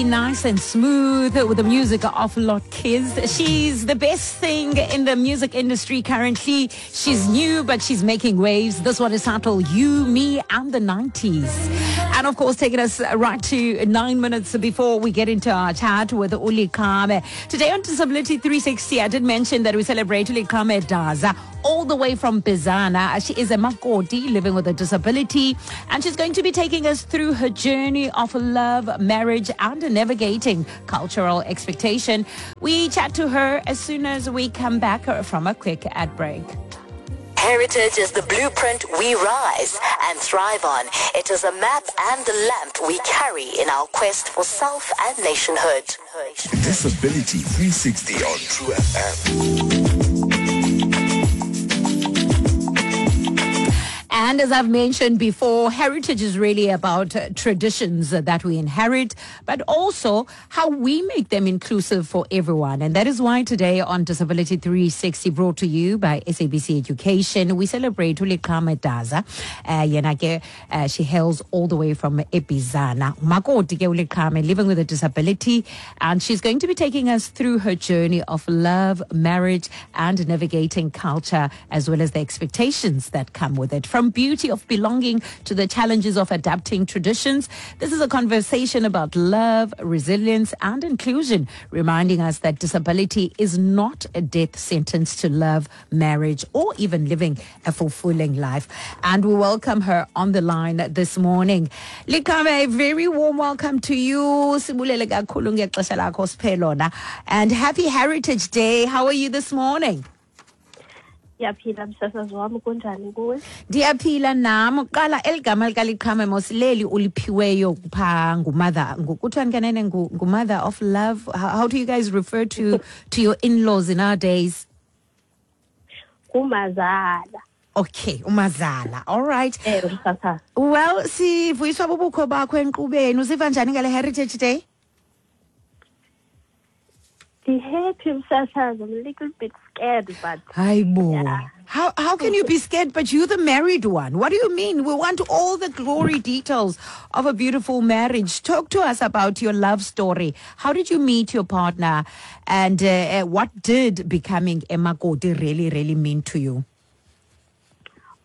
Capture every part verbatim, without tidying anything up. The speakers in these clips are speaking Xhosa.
Nice and smooth with the music of Lot Kids. She's the best thing in the music industry currently. She's new, but she's making waves. This one is titled You, Me and the nineties. And of course, taking us right to nine minutes before we get into our chat with uLiqhame. Today on Disability three sixty, I did mention that we celebrate uLiqhame Daza all the way from Bizana. She is a makoti living with a disability, and she's going to be taking us through her journey of love, marriage, and navigating cultural expectation. We chat to her as soon as we come back from a quick ad break. Heritage is the blueprint we rise and thrive on. It is a map and the lamp we carry in our quest for self and nationhood. Disability three sixty on True F M. And as I've mentioned before, heritage is really about uh, traditions that we inherit, but also how we make them inclusive for everyone. And that is why today on Disability three sixty, brought to you by S A B C Education, we celebrate uLiqhame Daza. Uh, yena ke, uh, she hails all the way from Ebizana. Makoti ke uLiqhame, living with a disability, and she's going to be taking us through her journey of love, marriage, and navigating culture, as well as the expectations that come with it. From beauty of belonging to the challenges of adapting traditions, this is a conversation about love, resilience, and inclusion, reminding us that disability is not a death sentence to love, marriage, or even living a fulfilling life. And we welcome her on the line this morning. Liqhame, a very warm welcome to you. Sibulele kakhulu ngexesha lakho siphelona. And happy Heritage Day. How are you this morning? Ndiyaphila msasazi wam, kunjani kuwe? Ndiyaphila nam. Qala eligama likaLiqhame mosileli uliphiweyo pha ngumother, kuthiwani kanene, ngumother of love. How, how do you guys refer to to your in-laws in our days? Umazala. Okay, umazala. All right. Eh, msasazi. Well, sivuyiswa bubukho bakho enkqubeni. Uziva njani ngale Heritage Day? Happy, msasazi. I'm a little bit scared, but Hayibo. Yeah. How how can you be scared? But you're the married one. What do you mean? We want all the glory details of a beautiful marriage. Talk to us about your love story. How did you meet your partner, and uh, what did becoming a makoti really, really mean to you?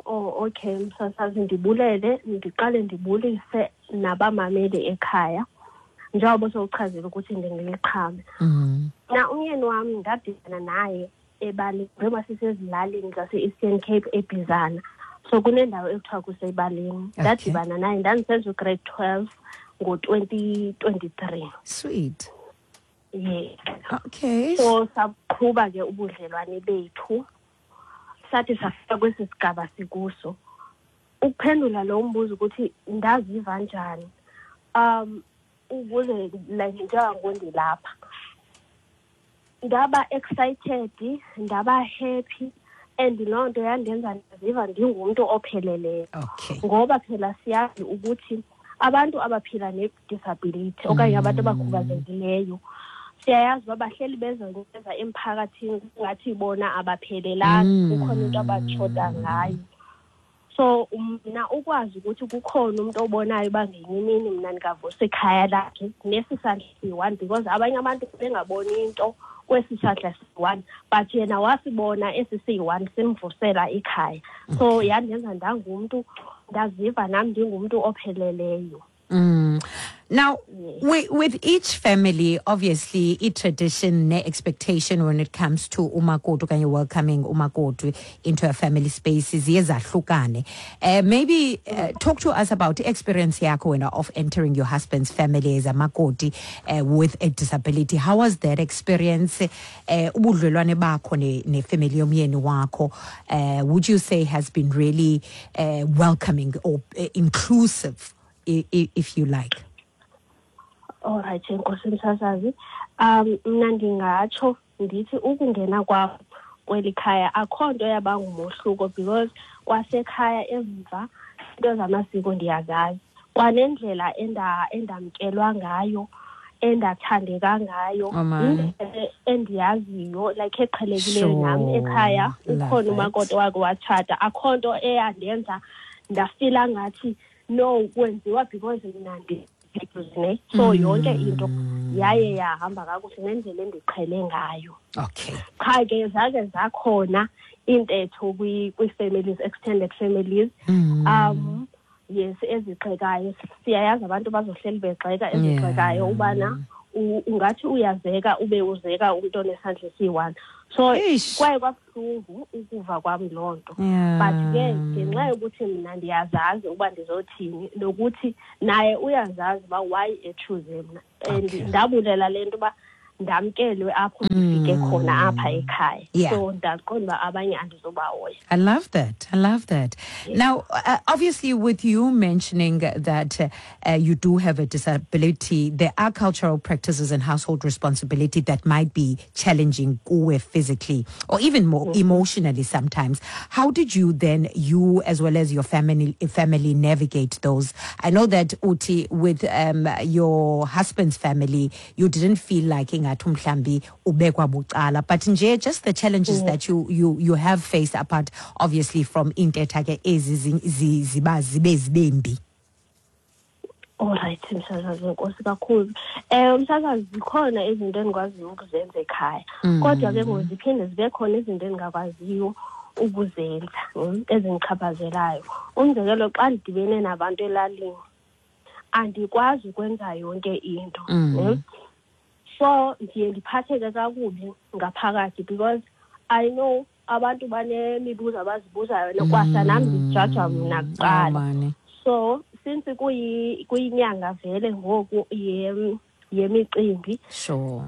Oh, okay, msasazi, ndibulele, ndiqale ndibulise nabamameli ekhaya. Njengoba sowuchazile ukuthi ndinguLiqhame. Na umyeni wami ndadibana naye ebaleni, njengoba sisezilalini zase-Eastern Cape eBizana. So kunendawo ekuthiwa kusebaleni. Ndadibana naye ndandisenza ugrade twelve ngo-twenty twenty-three. Sweet. Yeah. Okay. So saqhuba ke ubudlelwane bethu. Sathi safika kwesi sigaba sikuso. Ukuphendula lo mbuzo ukuthi ndaziva njani. Um ukuze like njengangondilapha ndaba excited, ndaba happy, and loo nto yandenza ndaziva ndingumntu opheleleyo. Okay. Ngoba phela siyazi ukuthi abantu abaphila ne-disability okanye abantu abakhubazekileyo siyayazi uba bahleli bezonyenza emphakathini kungathi bona abaphelelanga, kukhona into abatshoda ngayo. So mna ukwazi ukuthi kukhona umuntu obonayo uba ngenye imini mna ndingavusa ikhaya lakhe nesi sandla siyi-one, because abanye abantu bengaboni into kwesi sandla siyi-one, but yena wasibona esi siyi-one simvusela ikhaya. So yandenza ndangumntu, ndaziva nam ndingumntu opheleleyo. Mm. Now, Yes. we, with each family, obviously, each tradition, ne expectation when it comes to umakoti, okanye welcoming umakoti into a family space ziye zahlukane. Uh, maybe uh, talk to us about the experience yakho wena of entering your husband's family as a makoti uh, with a disability. How was that experience? Uh, ubudlelwane bakho ne, ne family yomyeni wakho, uh, would you say has been really uh, welcoming or uh, inclusive, if you like? Alright, enkosi msasazi. Um mna ndingatsho ndithi ukungena kwam kweli khaya akho nto yaba ngumohluko, because kwasekhaya emva into zamasiko ndiyazazi, kwanendlela enda endamkelwa ngayo, endathandeka ngayo, Oh, man. indlela endiyaziyo like eqhelekileyo nam ekhaya Sure. ukhona Love it. umakoti wake watshata, akho nto eyandenza ndafila ngathi no kwenziwa because mna ne. So yonke into Yaye yahamba kakuhle ngendlela endiqhele ngayo. Okay. Qha ke zake zakhona intetho kwi-families, extended families. Mm. Um yes, ezigxekayo, siyayazi abantu bazohleli begxeka, ezigxekayo ubana ungathi uyazeka ube uzeka umuntu onesandla esiyi-one. So kwaye kwabuhlungu ukuva kwam loo nto. But ke ngenxa yokuthi mna ndiyazazi uba ndizothini, nokuthi naye uyazazi uba why echoose mna. And ndabulela le nto uba ndamkelwe apho ndifike khona apha ekhaya. So ndaqonda uba abanye andizobahoya. I love that. I love that. Yes. Now, uh, obviously, with you mentioning that uh, uh, you do have a disability, there are cultural practices and household responsibility that might be challenging kuwe physically or even more mm-hmm. emotionally sometimes. How did you then, you as well as your family, family navigate those? I know that, Uti, with um, your husband's family, you didn't feel like ingathi mhlambi ubekwa bucala, but nje just the challenges mm. that you, you, you have faced, apart obviously from intetha ke ezi ziba zibe zibembi. All right, msasazi, enkosi kakhulu. Eh msasazi, zikhona izinto endikwaziyo ukuzenza ekhaya. Kodwa ke ngoku ziphinde zibe khona izinto endingakwaziyo ukuzenza ezindichaphazelayo. Umzekelo, xa ndidibene nabantu elalini andikwazi ukwenza yonke into. Mm. So ndiye ndiphatheke kakubi ngaphakathi because I know abantu banemibuzo abazibuzayo nokwasa nami ndijaja mna kuqala. So since kuyi kuyinyanga vele ngoku yemicimbi, sure,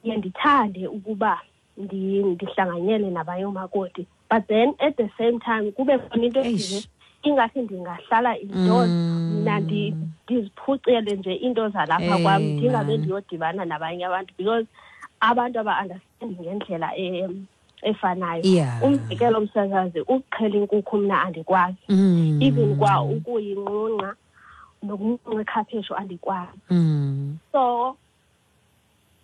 ndiye ndithande ukuba ndihlanganyele nabanye omakoti, but then at the same time kube khona into ethize ingathi ndingahlala indoors mna ndiziphucele nje into zalapha kwam, ndingabe ndiyodibana nabanye abantu because abantu aba-understandi ngendlela efanayo. Umzekelo, msasazi, ukuxhela inkukhu mna andikwazi. Even kwa ukuyinqunqa nokunqunqa ikhapheshu andikwazi. So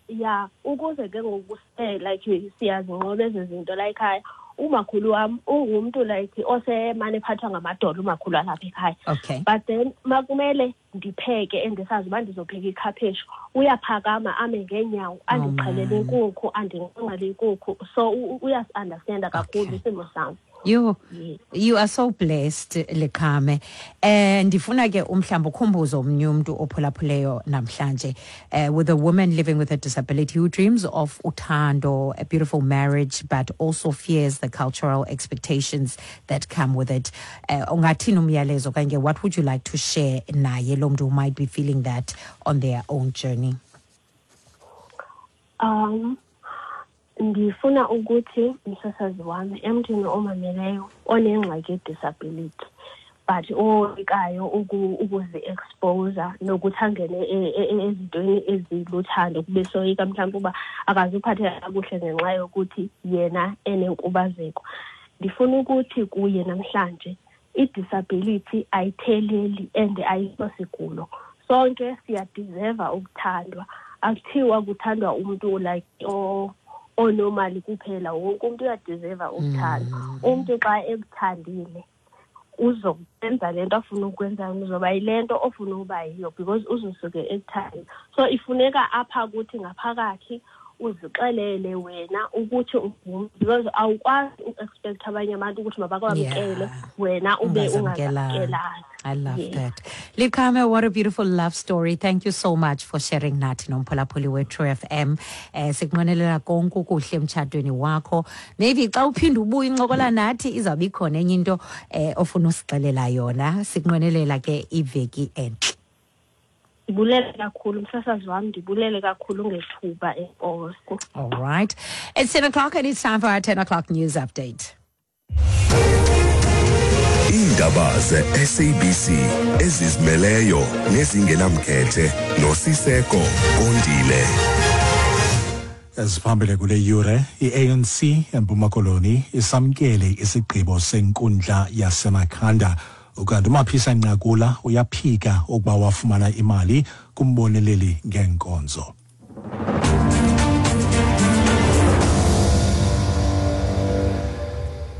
yeah, ukuze ke ngoku like siyazinqoba ezi zinto la ekhaya. Umakhulu wam ungumntu like osemane ephathwa ngamadolo, umakhulu alapha ekhaya. Okay. But then makumele ndipheke endisazi uba ndizopheka ikhapheshu, uyaphakama ame ngeenyawo andixhelele inkukhu, andinqunqele inkukhu. So uyasi-understanda kakhulu isimo sam. You, you are so blessed, Liqhame. Eh ndifuna ke umhlamba ukhumbuzo omnye umuntu ophulaphuleyo namhlanje, uh, with a woman living with a disability who dreams of uthando, a beautiful marriage, but also fears the cultural expectations that come with it. Ungathini umyalezo okanye what would you like to share naye lo mntu who might be feeling that on their own journey? Um Ndifuna ukuthi umsasazi wami emntwini omameleyo onengxaki ye-disability but oyikayo ukuzi-expose nokuthi angene ezintweni eziluthando kube soyika mhlawumbi uba akazuphatheka kakuhle ngenxa yokuthi yena enenkubazeko. Ndifuna ukuthi kuye namhlanje i-disability ayitheleli and ayisosigulo. Sonke siyadeserva ukuthandwa. Akuthiwa kuthandwa umuntu like oh onomali kuphela, wonke umuntu uyadeserva ukuthandwa. Umuntu xa ekuthandile uzokwenza lento afuna ukwenza, uzoba yilento ofuna ukuba yiyo because uzosuke ekuthandile. So ifuneka apha kuthi ngaphakathi uzixelele wena ukuthi ungumntu, because awukwazi uku-expect abanye abantu ukuthi mabakwamkele wena ube ungazamkelanga. I love yes. that. Liqhame, what a beautiful love story. Thank you so much for sharing nathi nomphulaphuli we-True F M. Eh sikunqwenelela konke okuhle emtshatweni wakho. Maybe xa uphinda ubuye incokola nathi izawube ikhona enye into eh ofuna usixelela yona. Sikunqwenelela ke iveki enhle. Ndibulele kakhulu msasazi wami, ndibulele kakhulu ngethuba, enkosi. All right. It's ten o'clock and it's time for our ten o'clock news update. Iindaba ze-S A B C ezizimeleyo nezingenamkhethe noSiseko Kondile. Eziphambili kule yure, i-A N C eMpuma Koloni isamkele isigqibo senkundla yaseMakhanda. Ukanti uMaphisa Nqakula uyaphika ukuba wafumana imali kumboneleli ngeenkonzo.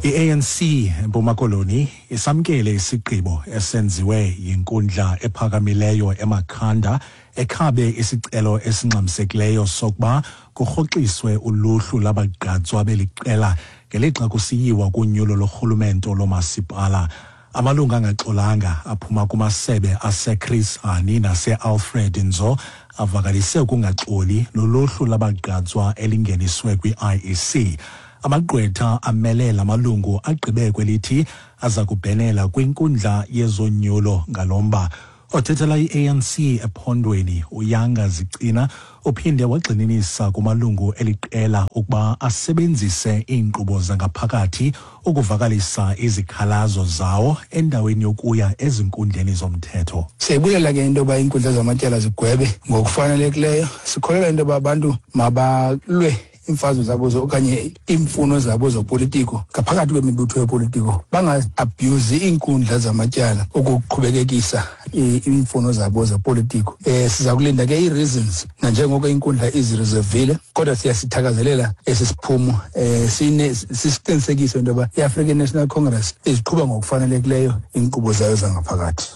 I-A N C eMpuma Koloni isamkele isigqibo esenziwe yinkundla ephakamileyo eMakhanda ekhabe isicelo esingxamisekileyo sokuba kurhoxiswe uluhlu labagqatswa beliqela ngelixa kusiyiwa kunyulo lorhulumento lomasipala. Amalungu angaxolanga aphuma kumasebe aseChris Hani nase-Alfred Nzo avakalise ukungaxoli loluhlu labagqatswa elingeniswe kwi-I E C. Amagqwetha amele lamalungu agqibe kwelithi aza kubhenela kwinkundla yezonyulo ngalomba. Othethela i-A N C ephondweni, uYanga Zicina, uphinde wagxininisa kumalungu eliqela ukuba asebenzise iinkqubo zangaphakathi ukuvakalisa izikhalazo zawo endaweni yokuya ezinkundleni zomthetho. Siyayibulela ke into yoba iinkundla zamatyala zigwebe ngokufanelekileyo. Sikholelwa into yoba abantu mabalwe iimfazwe zabo okanye iimfuno zabo zopolitiko ngaphakathi kwemibutho yopolitiko, banga-abuse iinkundla zamatyala ukuqhubekekisa iimfuno zabo zopolitiko. um siza kulinda ke ii-reasons nanjengoko inkundla izireservile, kodwa siyasithakazelela esi siphumo. um sisiqinisekiso into yoba i-African National Congress iziqhuba ngokufanelekileyo iinkqubo zayo zangaphakathi.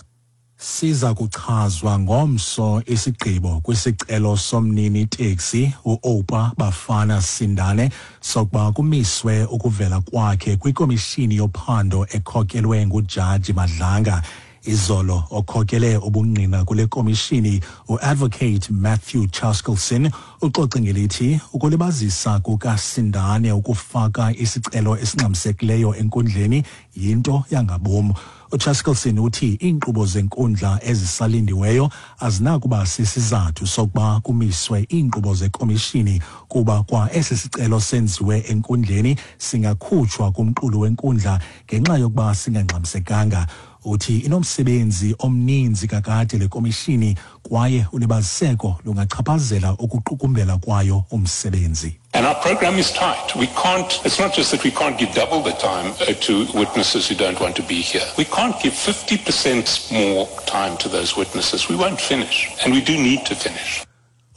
Siza kuchazwa ngomso isigqibo kwisicelo somnini teksi uOpa Bafana Sindane sokuba kumiswe ukuvela kwakhe kwikomishini yophando ekhokelwe nguJaji Madlanga. Izolo, okhokele ubungqina kule komishini, uAdvocate Matthew Chaskelson, uxoxe ngelithi ukulibazisa kukaSindane ukufaka isicelo esingxamisekileyo enkundleni yinto yangabomi. UChaskelson uthi iinkqubo zenkundla ezisalindiweyo azinakuba sisizathu sokuba kumiswe iinkqubo zekomishini, kuba kwa esi sicelo senziwe enkundleni singakhutshwa kumqulu wenkundla ngenxa yokuba singangxamisekanga. Uthi inomsebenzi omninzi kakade le komishini kwaye ulibaziseko lungachaphazela ukuqukumbela kwayo umsebenzi. And our program is tight. We can't, it's not just that we can't give double the time uh, to witnesses who don't want to be here. We can't give fifty percent more time to those witnesses. We won't finish. And we do need to finish.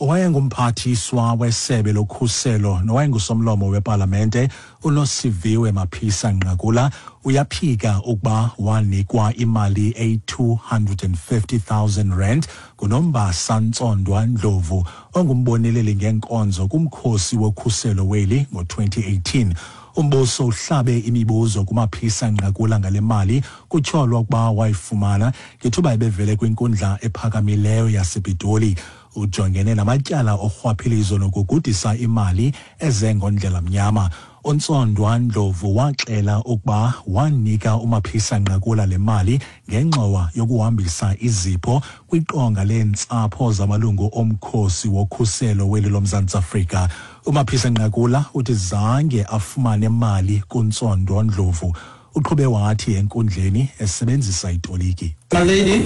Owayengumphathiswa wesebe lokhuselo nowayengusomlomo wepalamente, uNosiviwe Mapisa Nqakula, uyaphika ukuba wanikwa imali eyi-two hundred and fifty thousand rand nguNombasa Ntsondwa Ndlovu, ongumboneleli ngenkonzo kumkhosi wokhuselo weli ngo-twenty eighteen. Umbuso uhlabe imibuzo kuMaphisa Nqakula ngale mali kutyholwa ukuba wayifumana ngethuba ebevele kwinkundla ephakamileyo yasePitoli. Ujongene namatyala orhwaphilizo nokugudisa imali ezengondlela mnyama. UNtsondwa Ndlovu waxela ukuba wanika uMaphisa Nqakula le mali ngengxowa yokuhambisa izipho kwiqonga leentsapho zamalungu omkhosi wokhuselo weli loMzantsi Afrika. UMaphisa Nqakula uthi zange afumane mali kuNtsondwa Ndlovu. Uqhube wathi enkundleni esebenzisa itoliki. My lady,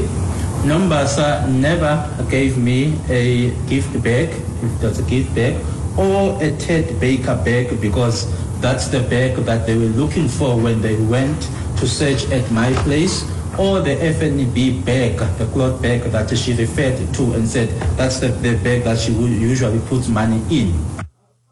Nombasa never gave me a gift bag, if that's a gift bag, or a Ted Baker bag, because that's the bag that they were looking for when they went to search at my place, or the F N B bag, the cloth bag that she referred to and said that's the, the bag that she usually puts money in.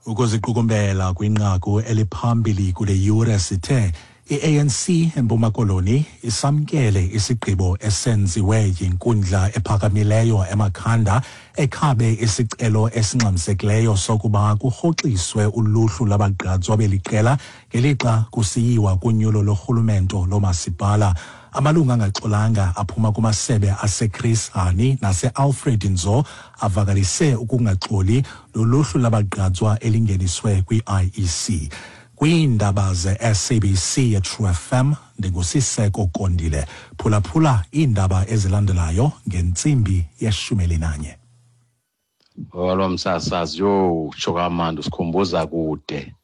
Ukuziqukumbela kwinqaku eliphambili kule yure, sithe i-A N C eMpuma Koloni isamkele isigqibo esenziwe yinkundla ephakamileyo eMakhanda ekhabe isicelo esingxamisekileyo sokuba kurhoxiswe uluhlu labagqatswa beliqela ngelixa kusiyiwa kunyulo lorhulumento lomasipala. Amalungu angaxolanga aphuma kumasebe aseChris Hani nase-Alfred Nzo avakalise ukungaxoli loluhlu labagqatswa elingeniswe kwi-I E C. Kwiindaba ze-S A B C yeTrue F M, ndinguSiseko Kondile. Phulaphula iindaba ezilandelayo ngentsimbi yeshumi elinanye. Olo msasazi, yho, utsho kamandi, usikhumbuza kude.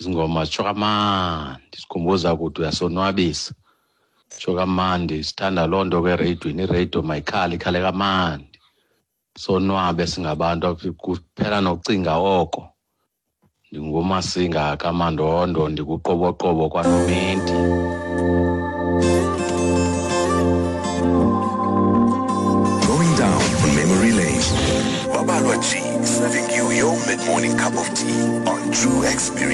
Izingoma zitsho kamandi, sikhumbuza kude, uyasonwabisa, tsho kamandi. Sithanda loo nto ke ereyidweni. Ireyido mayikhale, ikhale kamandi, sonwabe singabantu, kuphela nokucinga oko. NdinguMasinga kaMandondo, ndikuqoboqobo kwaNomenti. Going down memory lane. Babalwa G serving you your mid-morning cup of tea on True Experience.